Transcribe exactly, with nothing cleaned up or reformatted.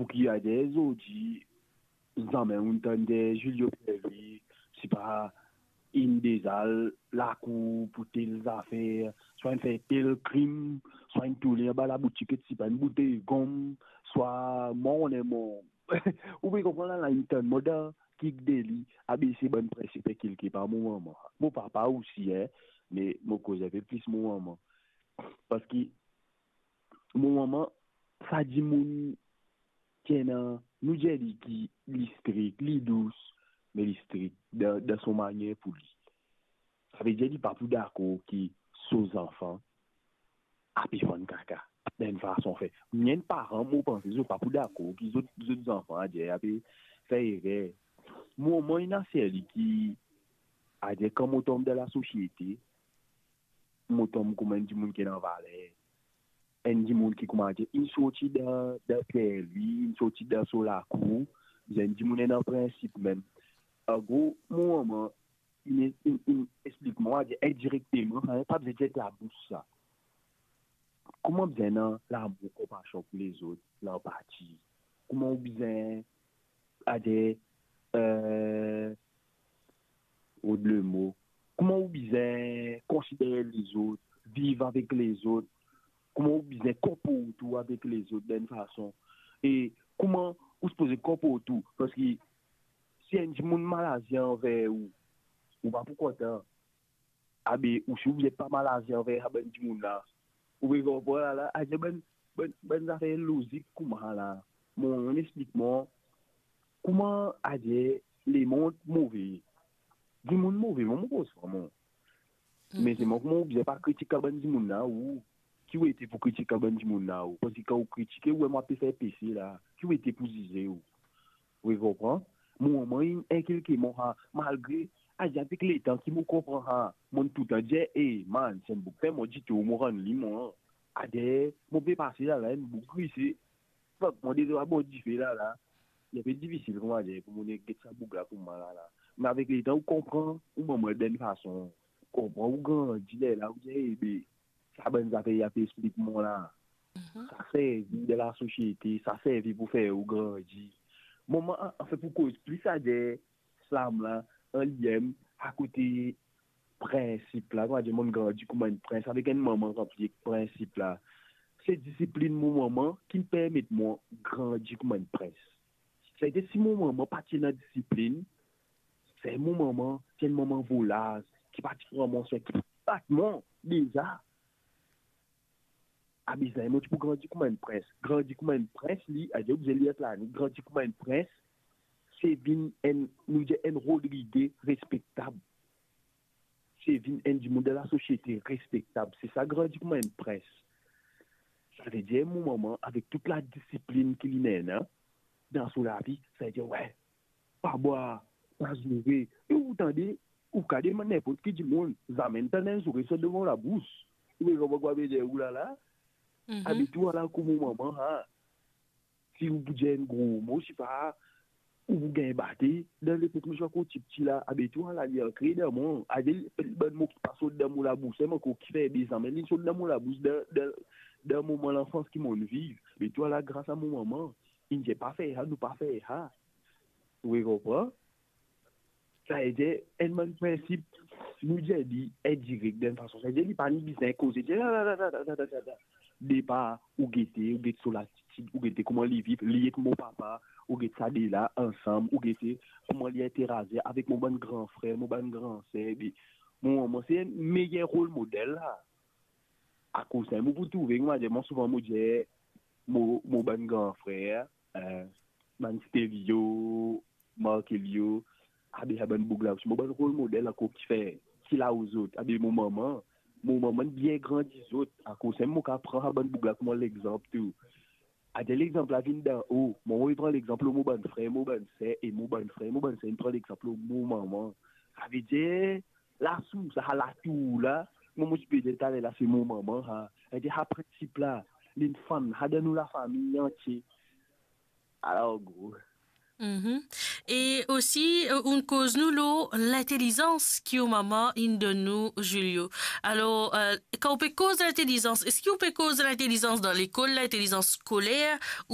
Ki ader zordi, zame ou'nn tann de Julio Pierre-Louis, sipa inn deza al lakour pou tel zafer, swa inn fer tel krim, swa inn tourne anba laboutik, sipa enn boutey gom, swa mwa one mo. Ou pe konpran la, la inn tann mo dan kik de li, abe se bann prinsip kilke par mo manman. Mo papa osi, en, me mo koz enpe plis mo manman. Parski mo manman, sa dimoun ki ena, nou dir li ki li strik, li dous, me li strik dan, dan so manier pou li. Savedir li pa pou dakor ki so zanfan ape fann kaka dan enn fason fer. Mem paran, mo panse zot pa pou dakor ki zot, zot zanfan adir ape fer erer. Mo manman ena ser li ki, adir kan mo tom dan lasosiete, mo tom kouma enn dimoun ki ena valer. Enn dimoun ki, kouma dir, inn sorti dan, dan Pierre-Louis, inn sorti dan so lakour, enn dimoun ena prinsip mem. An gro, mo manman, inn, inn, inn explik mwa, dir indirekteman, sa pa bizin dir ek labous sa. Kouma bizin ena lamour, konpasion pou lezot, lanpati. Kouma ou bizin, adir, eh, rod lemo. Kouma ou bizin konsider lezot, viv avek lezot, kouma ou bizin konport ou avek lezot dan enn fason. E kouma ou sipoze konport ou, parski si enn dimoun malaze anver ou, ou pa pou kontan. Abe, ou si ou bizin pa malaze anver sa bann dimoun la. Ou pe konpran la, la, adir bann, bann, bann zafer lozik kouma la. Mo, mo explik mwa, kouma adir lemond move. Dimoun move, mo, mo koz sa, mo. Me selman kouma ou bizin pa kritik sa bann dimoun la, ou, ki ou ete pou kritik sa bann dimoun la, ou? Parski kan ou kritike, ou mem ou pe fer pese la, ki ou ete pou zize, ou? Ou konpran? Mo manman inn inkilke mwa sa, malgre, adir avek letan ki mo konpran sa, mo toultan dir, "Eh, man, sa enn boug fer mwa ditor, mo rann li, mwa." Ader, mo pe pase la, la, enn boug grise. Fok mo deza bor dife la, la. Li pe difisil, kouma dir, pou mo get sa boug la kouma la, la. Me avek letan, ou konpran, ou manman dan enn fason, ou konpran, ou grandi, lerla, ou dir, "Eh, be, sa bann zafer li pe explik mwa la, sa servi dan lasosiete, sa servi pou fer ou grandi." Mo manman, an, anfin, pou koz plis adir, slam la, an li mem, akote prinsip la, kouma dir, mo'nn grandi kouma enn prins, avek enn manman ranpli ek prinsip la. Se disiplinn mo manman ki permet mwa grandi kouma enn prins. Savedir si mo manman pa ti ena disiplinn, se mo manman, ti enn manman volaz, ki pa ti pran mwa swen, ki pa ti bat mwa deza. Abe, sa, mo ti pou grandi kouma enn prins. Grandi kouma enn prins, li, adir ou bizin lir la, grandi kouma enn prins, se vinn enn, nou dir, enn Rodrige respektab. Se vinn enn dimoun dan lasosiete respektab. Se sa, grandi kouma enn prins. Savedir mo manman, avek tou ladisiplinn ki li ena dan so lavi, savedir, we, pa bwar, pa zoure. E ou tande, ou kapav demann ninport ki dimoun, zame tann enn zoure sot devan labous. Ou pe konpran ki mo pe dir ou la, la? Abitie-w ala kouma manman, ha. Si ou pou dir enn gro mo, sipa, ou pou gagn bate. Dan lepok mo ti ankor tipti la, abitie-w ala, li ankre dan mwa. Adir, bann mo ki pa sot dan mo labous, mem ankor ki fer bizin, me li sot dan mo labous, dan, dan, dan moman lanfans ki mo'nn viv. Abitie-w ala, gras a mo manman, inn dir pa fer sa, nou pa fer sa. Ou konpran? Savedir, enn bann prinsip, nou dir li indirek, dan enn fason. Savedir, li pa ni bizin koze, dir la, la, la. Depar, ou gete, ou get so latitid, ou gete kouma li viv, li ek mo papa, ou get sa de la ansam, ou gete kouma li interazir avek mo bann gran frer, mo bann gran ser, epi mo manman se enn meyer rol model la. Akoz sa, mo pou trouve, mo dir, mo souvan mo dir, mo, mo bann gran frer, eh, bann Stevio, Markelio, abe sa bann boug la, mo bann rol model ankor ki fer, ki la ou zot, abe mo manman, mo manman bien grandi zot, akoz sa, mo kapav pran sa bann boug la kouma lexanp tou. Adir lexanp la vinn dan o, mo, mo pran lexanp lor mo bann frer, mo bann ser, e mo bann frer, mo bann ser, inn pran lexanp lor mo manman. Savedir, lasours, sa latour la, mo, mo ti pe dir taler la, se mo manman, ha. Savedir, sa prinsip la, linn fann, sa dan nou lafami antie. Alor, gro. Mhm. E osi, eh, ou'nn koz nou lor lintelizans ki ou manman inn donn ou, Julio. Alor, eh, kan ou pe koz lintelizans, eski ou pe koz lintelizans dan lekol, lintelizans skoler, ou